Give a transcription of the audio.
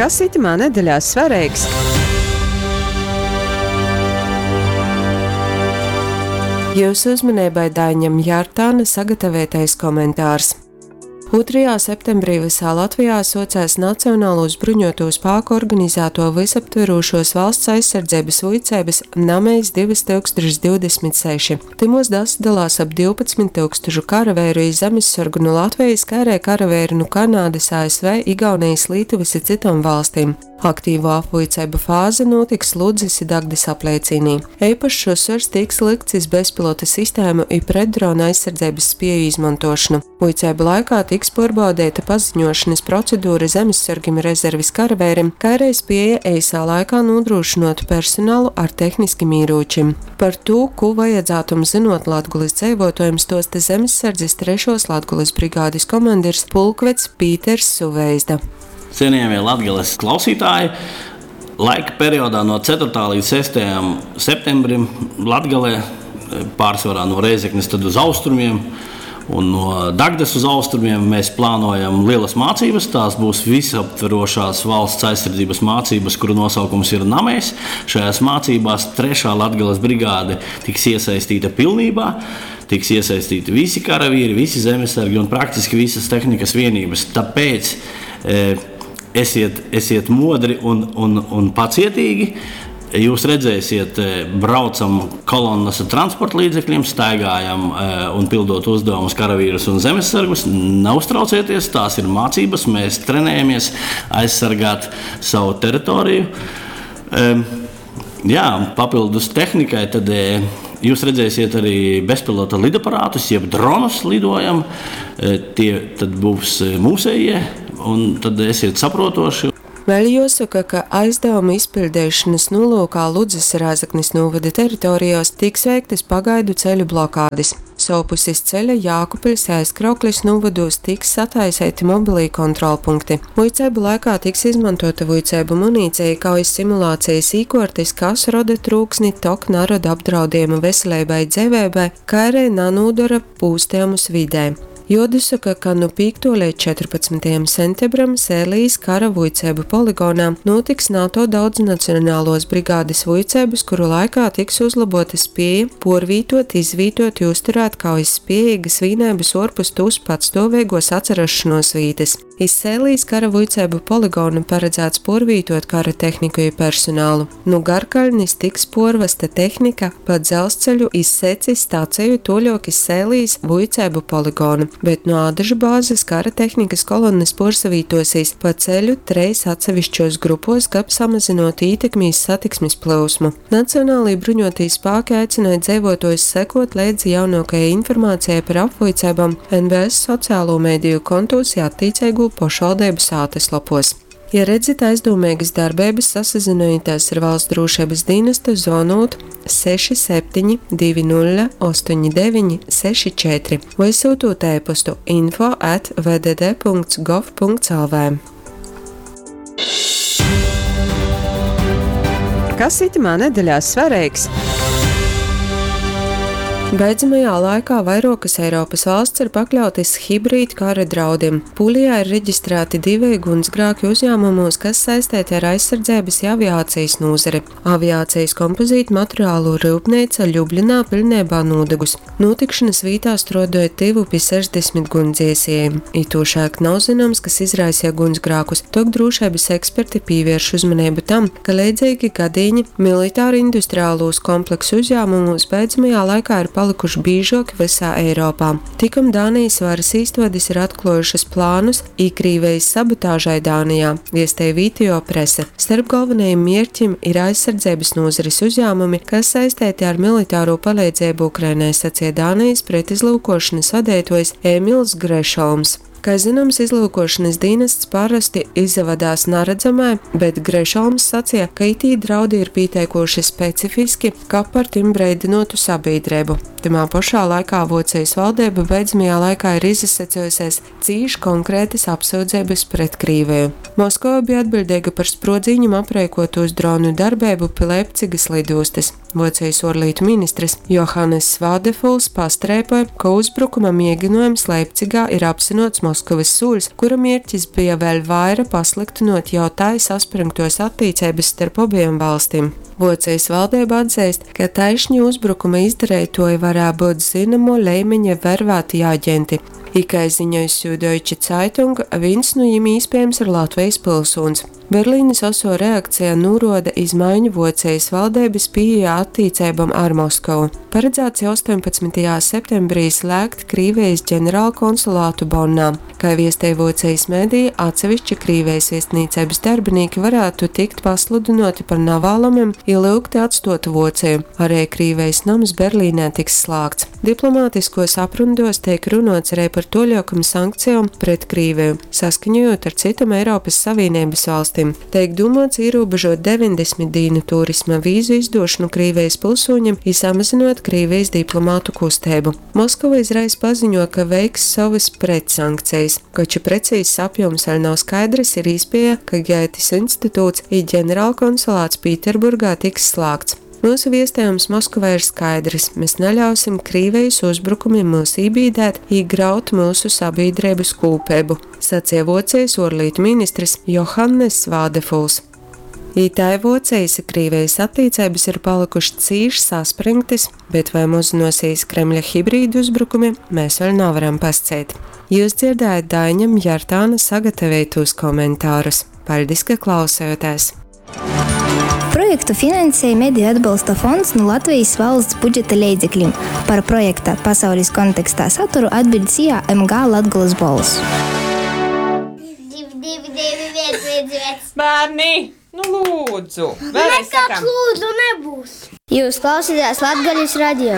Kas itymā nedeļā svareigs? Jiusu uzmaneibai Daiņam Jartāna sagataveitais komentārs. 2. septembrī vysā Latvijā suocēs Nacionalūs bruņuotū spāku organizātuo vysaptverūšuos valsts aizsardzeibys vuiceibys Namejs 2026. Tymuos dasadalās ap 12 tyukstušu karaveiru i zemissorgu nu Latvejis, kai ari karaveiru nu Kanadys, ASV, Igaunejis, Lītuvys i cytom valstim. Aktīvuo apvuiceibu fāze nūtiks Ludzys i Dagdys apleicīnī. Eipašs uzsvers tiks lykts iz bezpilota sistēmu i pretdronu aizsardzeibys spieju izmontuošonu. Vuiceibu laikā tiks puorbaudeita paziņuošonys procedura zemissorgim i rezervis karaveirim, kai ari spieja eisā laikā nūdrūšynuot personalu ar tehniskim īrūčim. Par tū, kū vajadzātum zynuot Latgolys dzeivuotuojim, stuosta Zemissardzis trešuos Latgolys brigādis komandirs pulkveds Pīters Suveizda. Cienījamie Latgales klausītāji, laika periodā no 4. līdz 6. septembrim Latgalē, pārsvarā no Rēzeknes tad uz austrumiem un no Dagdas uz austrumiem, mēs plānojam lielas mācības. Tās būs visaptverošās valsts aizsardzības mācības, kuru nosaukums ir Namejs. Šajās mācībās 3. Latgales brigāde tiks iesaistīta pilnībā. Tiks iesaistīti visi karavīri, visi zemesargi un praktiski visas tehnikas vienības. Tāpēc esiet, esiet modri un, un, un pacietīgi. Jūs redzēsiet, braucam kolonnas ar transporta līdzekļiem, staigājam un pildot uzdevumus karavīrus un zemesargus. Neuztraucieties, tās ir mācības, mēs trenējamies aizsargāt savu teritoriju. Jā, papildus tehnikai tad jūs redzēsiet arī bezpilota lidaparātus, jeb dronus lidojam. Tie tad būs mūsējie, un tad esiet saprotoši. Vēļ juosoka, ka aizdavuma izpiļdeišonys nūlyukā Ludzys i Rēzeknis nūvoda teritorijuos tiks veiktys pagaidu ceļu blokādis. Sovpus iz ceļa Jākubpiļs i Aizkrauklis nūvodūs tiks sataiseiti mobilī kontrolpunkti. Vuiceibu laikā tiks izmontuota vuiceibu munīceja, kaujis simulācejis īkuortis, kas roda trūksni, tok naroda apdraudiejumu veseleibai i dzeiveibai, kai ari nanūdora pūstejumus vidē. Juodasoka, ka nu 5. leidz 14. sentebram Sēlijas kara vuiceibu poligonā nūtiks NATO daudznacionaluos brigādis vuiceibys, kuru laikā tiks uzlobuota spieja puorvītuot, izvītuot i uzturēt kaujas spiejeigys vīneibys uorpus tūs patstuoveiguos atsarasšonuos vītys. Iz Sēlijas kara vuiceibu poligonu paradzāts puorvītuot kara tehniku i personalu. Nu Garkaļnis tiks puorvasta tehnika pa dzelzceļu iz Secis staceju tuoļuok iz Sēlijas vuiceibu poligonu, bet nu Ādažu bāzes kara tehnikys kolonnys puorsavītuosīs pa ceļu treis atsevišķuos grupuos, kab samazynuotu ītekmi iz satiksmis plyusmu. Nacionālī bruņuotī spāki aicynoj dzeivuotuojus sekuot leidzi jaunuokajai informacejai par apvuiceibom NBS socialū mediju kontūs i attīceigū pošvaldeibu sātyslopuos. Ja redzit aizdūmeigys darbeibys, sasazynojitēs ar Valsts drūšeibys dīnastu, zvonūt 67 20 89 64 voi syutūt e-postu info at vdd.gov.lv. Kas itymā nedeļā svareigs? Beidzamajā laikā vairuokys Eiropys valsts ir pakļautys hibrīdkara draudim. Pūlijā ir reģistrāti diveji guņsgrāki uzjāmumūs, kas saisteiti ar aizsardzeibys i aviācejis nūzari. Aviācejis kompozītmaterialu ryupneica Ļubļinā piļneibā nūdagus. Nūtikšonys vītā struoduoja tyvu pi 60 guņsdziesieju. Itūšaļt nav zynoms, kas izraiseja guņsgrākus, tok drūšeibys eksperti pīvierš uzmaneibu tam, ka leidzeigi gadīņi militārindustrialūs kompleksu uzjāmumūs beidzamajā laikā ir palykuši bīžuoki vysā Eiropā. Tikom Dānejis varys īstuodis ir atkluojušys plānus Īkrīvejis sabotažai Dānejā, viestej vītejuo prese. Starp golvonajim mierķim ir aizsardzeibys nūzaris uzjāmumi, kas saisteiti ar militarū paleidzeibu Ukrainai, saceja Dānejis pretizlyukuošonys vadeituojs Ēmils Grešolms. Kai zynoms, izlyukuošonys dīnasts parosti izavadās naradzamai, bet Grešolms saceja, ka itī draudi ir pīteikūši specifiski, kab par tim breidynuotu sabīdreibu. Tymā pošā laikā Vuocejis valdeiba beidzamajā laikā ir izasacejusēs cīš konkrētys apsyudzeibys pret Krīveju. Moskova bija atbiļdeiga par spruodzīņim apreikuotūs dronu darbeibu pi Leipcigys lidūstys. Vuocejis uorlītu ministrs Johaness Vādefuls pastreipoj, ka uzbrukuma mieginuojums Leipcigā ir apzynuots Moskovys sūļs, kura mierķis bija vēļ vaira pasliktynuot jau tai saspryngtuos attīceibys starp obejom valstim. Vuocejis valdeiba atzeist, ka taišni uzbrukuma izdareituoji varēja byut zynomuo leimiņa vervātī aģenti, i, kai ziņoj Süddeutsche Zeitung, vīns nu jim īspiejams ir Latvejis pylsūņs. Berlīnis osuo reakceja nūruoda iz maiņu Vuocejis valdeibys pīejā attīceibom ar Moskovu. Paradzāts jau 18. septembrī slēgt Krīvejis ģeneralkonsulātu Bonnā. Kai viestej Vuocejis medeji, atsevišķi Krīvejis viestnīceibys darbinīki varātu tikt pasludynuoti par navālamim i lyugti atstuot Vuoceju. Ari Krīvejis noms Berlīnē tiks slāgts. Diplomātiskuos aprunduos teik runuots arī par tuoļuokom sankcejom pret Krīveju, saskaņojūt ar cytom Eiropys Savīneibys valstim. Teik dūmuots īrūbežuot 90 dīnu turisma vīzu izdūšonu Krīvejis pylsūņim i samazynuot Krīvejis diplomātu kusteibu. Moskova izreiz paziņo, ka veiks sovys pretsankcejis. Koč i precīzs apjūms vēļ nav skaidrys, ir īspieja, ka Gētis instituts i ģeneralkonsulāts Pīterburgā tiks slāgts. Myusu viestejums Moskovai ir skaidrys: mes naļausim Krīvejis uzbrukumim myus ībīdēt i graut myusu sabīdreibys kūpeibu, saceja Vuocejis uorlītu ministrs Johanness Vādefuls. I tai Vuocejis i Krīvejis attīceibys ir palykušs cīš saspryngtys, bet voi mozynuosīs Kremļa hibrīduzbrukumi, mes vēļ navaram pasceit. Jius dzierdējot Daiņa Mjartāna sagataveitūs komentarus. Paļdis, ka klausējotēs! Projektu finansēja Mediju atbalsta fonds nu Latvejis valsts budžeta leidzeklim. Par projekta Pasaulis kontekstā saturu atbiļd SIA MG Latgolys Bolss. 2, 2, 2, 1, 1, 1. Bērni, nu lūdzu! Vēlreiz Nekāds sakām! lūdzu nebūs. Jūs klausāties Latgales radio.